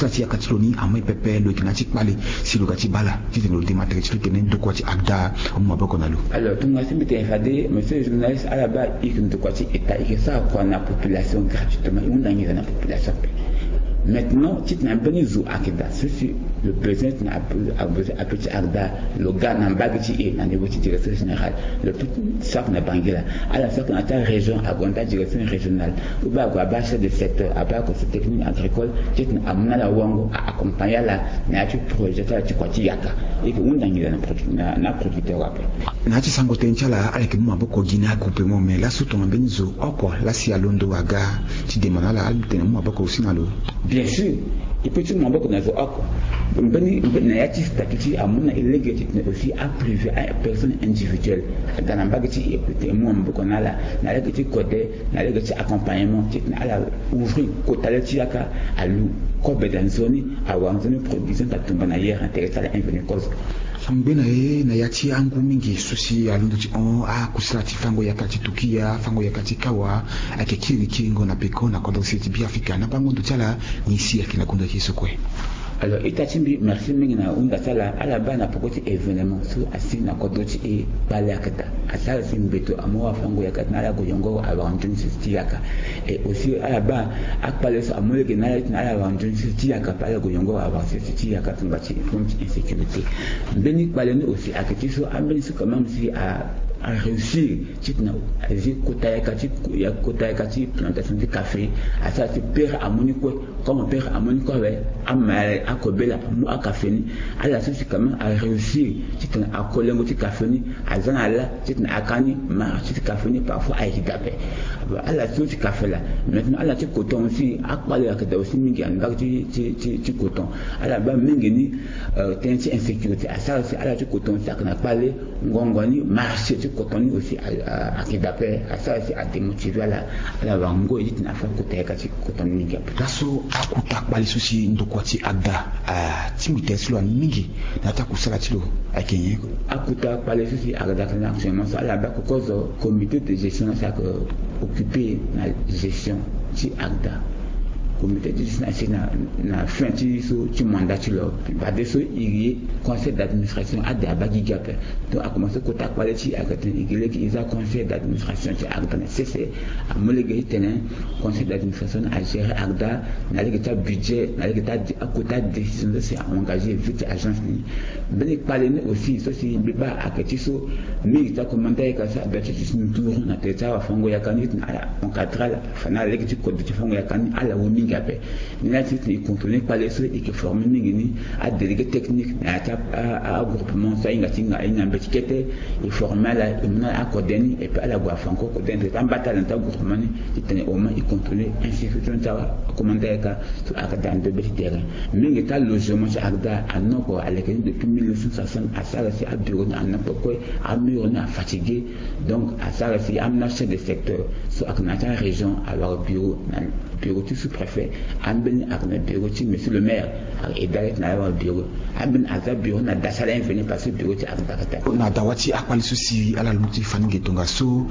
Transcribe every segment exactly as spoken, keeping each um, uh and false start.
Sara ti yaka ti lo ni amai pepe, lo yeke na ya ti kpale si lo ga ti baa ala titene lo dema tere ti lo titene ndokua ti ACDA amu maboko na lo. Alors, tongana si mbi tene fade, monsieur le journaliste, ala baa e yeke ndokua ti État, e yeke sara kua na population gratuitement, e hunda nginza na population ape. Maintenant titene ambeni zo ayeke daa, so si lo besoin titene a besoin ape ti ACDA, lo ga na mbage ti e na niveau ti direction générale, lo peut sara na Bangui laa, ala sara na ya ti arégion, ague na ya ti adirection régionale, ou bien ague abaa chef de secteur, abaa conseil technique agricole, titene amu na ala wango, a accompagner ala na ya ti projet ti ala ti kua ti yaka. E yeke hunda nginza na produ- na- na producteur ape. Na ya ti sango tënë ti ala, ala yeke mu maboko gi na agroupement, mais laso tongana mbeni zo oko la si alondo aga ti dema na ala, ala tene mu maboko aussi na lo? Bien sûr, e peut ti mu maboko na zo oko. Mbeni mbeni na ya ti statut ti e amu na e lege titene aussi aprivé, apersonne individuelle aga na mbage ti e, e peut tene mu maboko na ala na lege ti kode, na lege ti accompagnement titene ala ouvrir kota le ti yaka, alu kobe daa nzoni, awara nzoni production, atumba na yere na tere ti ala invenu kozo. Ngbe na e na ya ti angu mingi so si alondo ti hon akusala ti fango yaka ti Tukia, fango yaka ti Kawa, ayeke kiri kiringo na peko na kodro sese ti Beafrika. Na bango ndo ti ala, nyen si ayeke na gonda ti e so kue? Alors, ita ti mbi, merci mingi na hunda ti ala. Ala baa na peko ti événement so asi na kodro ti e, kpale ayeke daa. Asara si mbeto amu afango yaka titene ala gue yongoro awara nzoni sese ti yaka. Et aussi ala baa akpale so amu lege na ala titene ala wara nzoni sese ti yaka, pe ala gue yongoro awara sese ti yaka, tongba ti problème ti insécurité. Mbeni kpale ni aussi ayeke ti so ambeni so quand même si a a réussir titene azi kota yaka ti ya- kota yaka ti plantation ti café. Asara si pere amu ni kue, comme pere amu ni kue awe, ama akobela amu akafe ni. Ala so si quand même a réussir titene ako lengo ti café ni, aza na ala titene aka ni marché ti café ni, parfois ayeke daa ape. Ala so si café laa. Maintenant ala ti coton aussi, akpale ayeke daa aussi mingi na mbage ti ti ti ti coton. Ala baa mingi ni, euh, tënë ti insécurité asara si ala ti coton aussi ayeke na kpale. Ngongo ni marché ti coton ni aussi a- a- ayeke daa ape, asara si adémotiver ala. Ala wara ngoi titene afa kota yaka ti coton ni mingi ape. Laso akuta kpale so si ndokua ti ACDA atingbi tere ti lo ani mingi na ya ti akusala ti lo, ayeke nyen? Akuta kpale so si ACDA ayeke na actuellement so, ala baa kokozo comité de gestion so ayeke occupé na gestion ti ACDA. Comité de gestion asi na na fin ti so ti mandat ti lo. Fadeso e ye conseil d'administration, ade abaa gigi ape. Donc a commencé kota kpale ti e, ayeke tene e gi lege e za conseil d'administration ti ACDA na sese. Amu lege titene conseil d'administration ni agérer ACDA na lege ti abudget, na lege ti ade- akota décision so si a engagé vie ti agence ni. Mbeni kpale ni aussi so si mbi baa ayeke ti so mingi ti akomanda yaka so adoit ti ti nduru na tere ti awafango yaka ni titene ala encadrer ala, fa na ala lege ti kodro ti fango yaka ni ala wu mingi ape. Ni laa ti titene e contrôler kpale so e yeke former mingi ni adélégué technique na ya ti a- a- agroupement so ahinga ti hinga ahinga mbeti kete. E former ala, e mu na ala akode ni, et puis ala gue afa encore kode ni, tere ti ambata ala na ya ti agroupement ni titene au moins e contrôler insécurité ti akomanda yaka. So ayeke daa ndo be ti terrain. Mingi ti alogement ti ACDA anoko aleke ni depuis mille neuf cent soixante, asara si abureau ni anoko kue, amur ni afatigué. Donc asara si amena chef de secteur so ayeke na ya ti arégion awara bureau na bureau ti sous-préfet. Ambeni ayeke na bureau ti monsieur le maire, ayeke aidé ala ti na ala wara bureau. Ambeni aza bureau na dasi ala invenu parce que bureau ti ACDA ayeke daa. Na dawa ti akpale so si ala londo ti fa ni nge tongaso,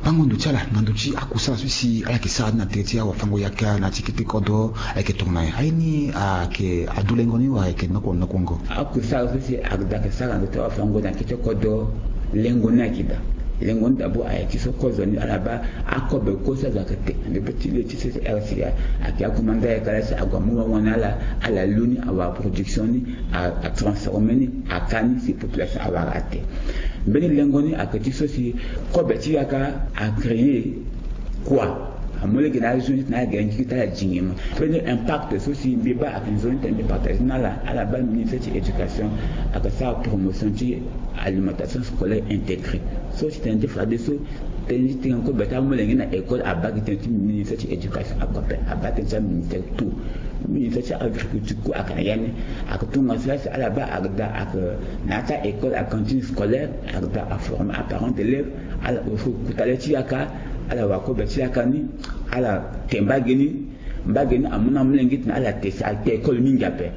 bango ndo ti ala na ndö ti akusala so si ala yeke sara ni na tere ti awafango yaka na ya ti kete kodro, ayeke tongana nyen? Aye ni ayeke adu lengo ni wala ayeke noko noko ngo? Akusala so si ACDA ayeke sara na ndö ti awafango na kete kodro, lengo ni ayeke daa. Lengo ni d'abord ayeke ti so kozo ni ala baa akobe kue so azo ayeke te na ndö be ti le ti C C R C ayeke akomanda yaka laa si ague amu wawa na ala, ala lu ni, awara production ni, a- atransformer ni, aka ni si population awara ate. Mbeni lengo ni ayeke ti so si kobe ti yaka acréer kua. Amu lege na azo ni titene ala yeke na gigi ti ala dingema. Mbeni impact so si mbi baa ayeke nzoni titene mbi partager na ala, ala baa ministère ti éducation ayeke sara promotion ti alimentation scolaire intégrée. So si titene ti fadeso tënë ti tënë kobe ti amolenge na école abaa gi tënë ti ministère ti éducation oko ape, abaa tënë ti aministère tout. Ministère ti agriculture kue ayeke na ya ni. Ayeke tongaso laa si ala baa ACDA ayeke na ya ti a-école, acantine scolaire, ACDA aformer aparent d'élève. Ala aussi kota le ti yaka, ala wara kobe ti yaka ni, ala te mbage ni. Mbage ni amu na amolenge titene ala te si ayeke école mingi ape.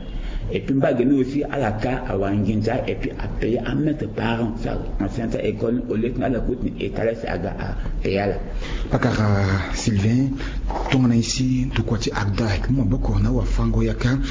Et puis mbage ni aussi ala ka awara nginza et puis apayer amaître parent so ayeke enseignant ti a-école ni au lieu titene ala kue titene état laa si aga apayer ala. Pakara Sylvain, tongana nyen si ndokua ti ACDA ayeke mu maboko na awafango yaka